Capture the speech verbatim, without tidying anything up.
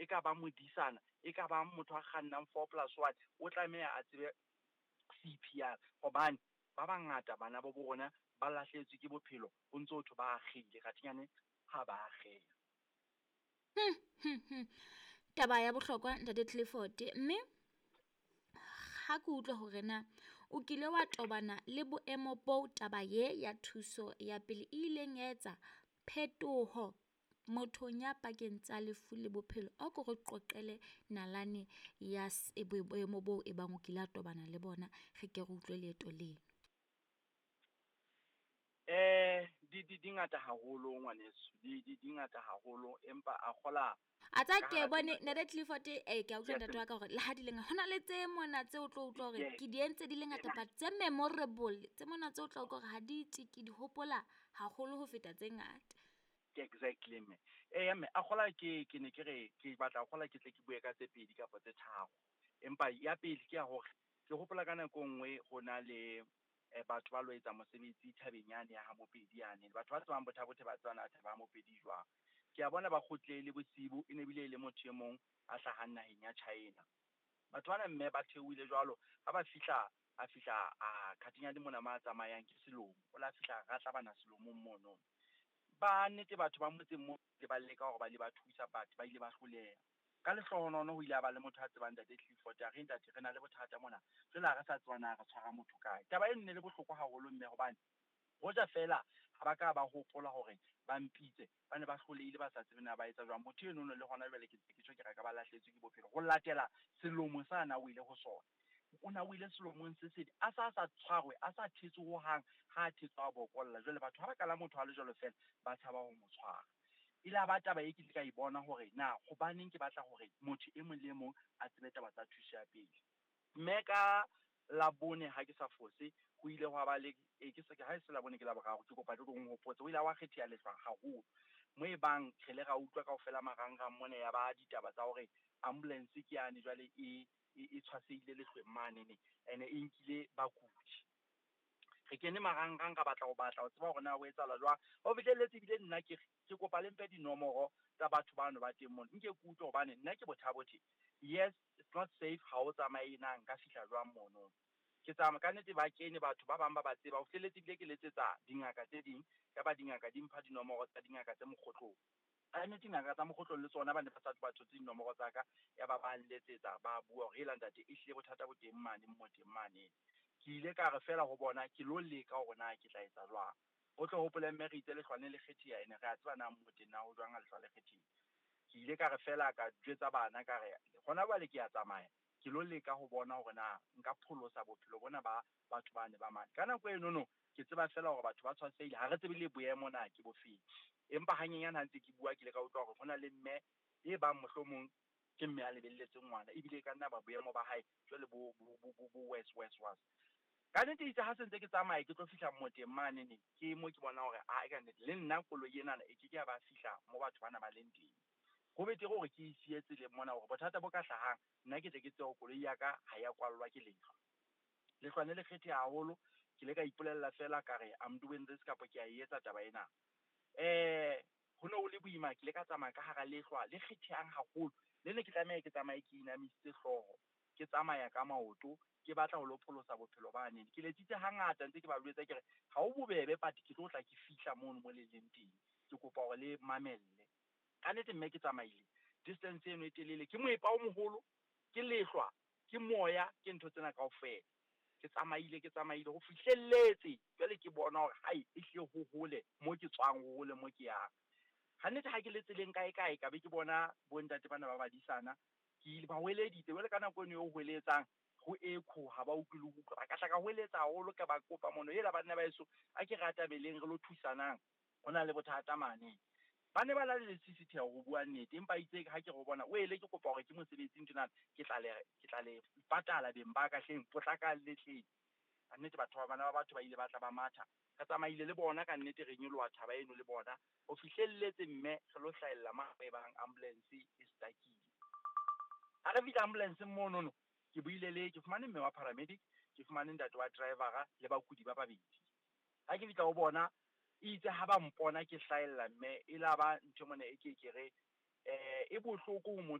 e ka ba modisana, e ka ba motho a kgannang four plus one, o tlameha a tsebe C P R, hobane ba bangata bana ba bo rona ba lahlehetswe ke bophelo, ho ntso ho thwe ba akgehile, kgathinyane ha ba akgeha. Hmm, hmm, hmm. Taba ya bohlokwa ntate Clifford, mme ha ke utlwa hore na o kile wa tobana le boemo bo taba ye ya thuso ya pele e ileng ya etsa phetoho mothong ya pakeng tsa lefu le bophelo, a ko re qoqele nalane ya boemo boo e bang o kile a tobana le bona, re ke re utlwe leeto leno. Eh di di di ngata haholo ngwaneso, di di di ngata haholo, empa a kgola a tsa ke bone ntate Clifford, eh ke a utlwa ntate wa ka hore le ha di le ngata, hona le tse mona tse o tlo utlwa hore ke di entse di le ngata, but tse memorable tse mona tse o tla utlwa hore ha di tswe ke di hopola haholo ho feta tse ngata. Exactly mme. Eh mme a kgola ke ke ne ke re ke batla kgola ke tle ke bue ka tse pedi kapa tse tharo. Empa ya pele ke ya hore ke hopola ka nako nngwe ho na le batho ba lo etsa mosebetsi thabeng yane ya ha Mopedi yane. Batho ba tsebang Botha-Bothe ba tsebana thaba ya Mopedi jwang. Ke a bona ba kgutlele bosibu, e ne bile le motho e mong a hlahang naheng ya China. Batho bana mme ba theohile jwalo, ha ba fihla a fihla a khathinyane mona ma tsamayang ke selomo. O la fihla ra bana selomong mono. Ba nnete batho ba motseng mo le ba leka hore ba le ba thusa, batho ba ile ba hloleha. Ka lehlohonolo ho ile a ba le motho a tsebang ntate Clifford, a re ntate re na le bothata mona, jwale ha re sa tseba na re tshwara motho kae. Taba e nne le bohloko haholo mme, hobane hoja fela ha ba ka ba hopola hore ba mpitse, ba ne ba hlolehile ba sa tsebe na ba etsa jwang. Motho eno le hona jwale ke ntse ke tjho ke re ka ba lahlehetswe ke bophelo ho latela selomo sa na o ile ho sona. O na o ile selomong se sedi, a sa sa tshwarwe, a sa thetswe hohang, ha a thetswe a bokolla. Jwale batho ha ba kala motho a le jwalo fela ba tshaba ho mo tshwara. E la ba taba e ke ile ka e bona hore na hobaneng ke batla hore motho e mong le e mong a tsebe taba tsa thuso ya pele. Mme ka Labone ha ke sa fose, ho ile hwa ba le e ke se ha e se Labone ke Laboraro, ke kopa le tlo nhopotse, ho ile hwa kgetheha lehlwa haholo. Mo e bang re le ra utlwa kaofela marangrang mona ya ba ditaba tsa hore ambulance ke yane jwale e e tshwasehile lehlweng mane ne, ene e nkile bakudi. Re kene marangrang ka batla ho batla ho tseba hore na ho etsahala jwang. Ho fihlelletse ebile nna ke ke kopa le mpe dinomoro tsa batho bano ba teng mona, nke ke utlwe hobane nna ke Botha-Bothe. Yes, it's not safe ha o tsamaye na nka fihla jwang mono. Ke tsamaya ka nnete ba kene batho ba bang ba ba tseba, ho fihlelletse ebile ke letsetsa dingaka tse ding, ya ba dingaka di mpha dinomoro tsa dingaka tse mokgotlong. Ka nnete dingaka tsa mokgotlong le tsona ba ne ba sa ba thotse dinomoro tsa ka, ya ba ba nletsetsa ba bua hore hela ntate ehlile bothata bo teng mane mo teng mane. Ke ile ka re fela ho bona ke lo leka hore na ke tla etsa jwang. O tlo hopole mme re itse lehlwa ne le kgetheha, ene re a tseba na mo teng na ho jwang ha lehlwa le kgethehile. Ke ile ka re fela ka jwetsa bana ka re hona jwale ke a tsamaya, ke lo leka ho bona hore na nka pholosa bophelo bona ba batho ba ne ba mane. Ka nako eno no ke tseba fela hore batho ba tshwasehile, ha re tsebe le boemo na ke bofeng. Empa hanyenyane ha ntse ke bua ke ile ka utlwa hore hona le mme e bang mohlomong ke mme a lebelletseng ngwana, ebile e ka nna ba boemo ba hae jwale bo bo bo bo worse worse worse. Ka nnete itse ha se ntse ke tsamaya ke tlo fihla moteng mane ne, ke mo ke bona hore a ka nnete le nna koloi enana e ke ke ya ba fihla mo batho bana ba leng teng. Ho betere hore ke e siye tseleng mona hore bothata bo ka hlahang nna ke tle ke tsebe hore koloi ya ka ha ya kwallwa ke lehlwa. Lehlwa ne le kgetheha haholo, ke ile ka ipolella fela ka re I'm doing this kapa ke a e etsa taba ena. Eh ho ne ho le boima, ke ile ka tsamaya ka hara lehlwa le kgethehang haholo, le ne ke tlameha ke tsamaye ke inamisitse hlooho, ke tsamaya ka maoto, ke batla ho lo pholosa bophelo ba nene. Ke letsitse hangata ntse ke ba jwetsa ke re ha ho bobebe but ke tlo tla ke fihla mono mo le leng teng, ke kopa hore le mamelle. Ka nnete mme ke tsamaile distance eno e telele, ke moepa o moholo, ke lehlwa, ke moya, ke ntho tsena kaofela. Ke tsamaile ke tsamaile ho fihlelletse jwale ke bona hore hai ehlile ho hole mo ke tswang, ho hole mo ke yang. Ha nnete ha ke le tseleng kae kae ka be ke bona bontate bana ba badisana, ke ile ba hweleditse jwale ka nako eno e hweletsang ho echo ha ba utlwe le ho utlwa. Ka tla ka hweletsa haholo ka ba kopa mono, hela banna ba heso a ke re atabeleng re lo thusanang, ho na le bothata mane. Ba ne ba na le lesisitheho ho bua nnete, empa itse ha ke re ho bona o ele ke kopa hore ke mosebetsing tjena, ke tla le ke tla le patala beng ba ka hleng, potlakang le tleng. Ka nnete batho ba bana ba batho ba ile ba tla ba matha, re tsamaile le bona ka nnete re nyoloha thaba eno le bona ho fihlelletse mme re lo hlahella ma e bang ambulance e stuckile. Ha re fihla ambulance monono, ke buile le ke fumane mme wa paramedic, ke fumane ntate wa driver le bakudi ba babedi. Ha ke fihla ho bona itse ha ba mpona ke hlahella mme e la ba ntho mona e ke ke re eh e bohloko ho motho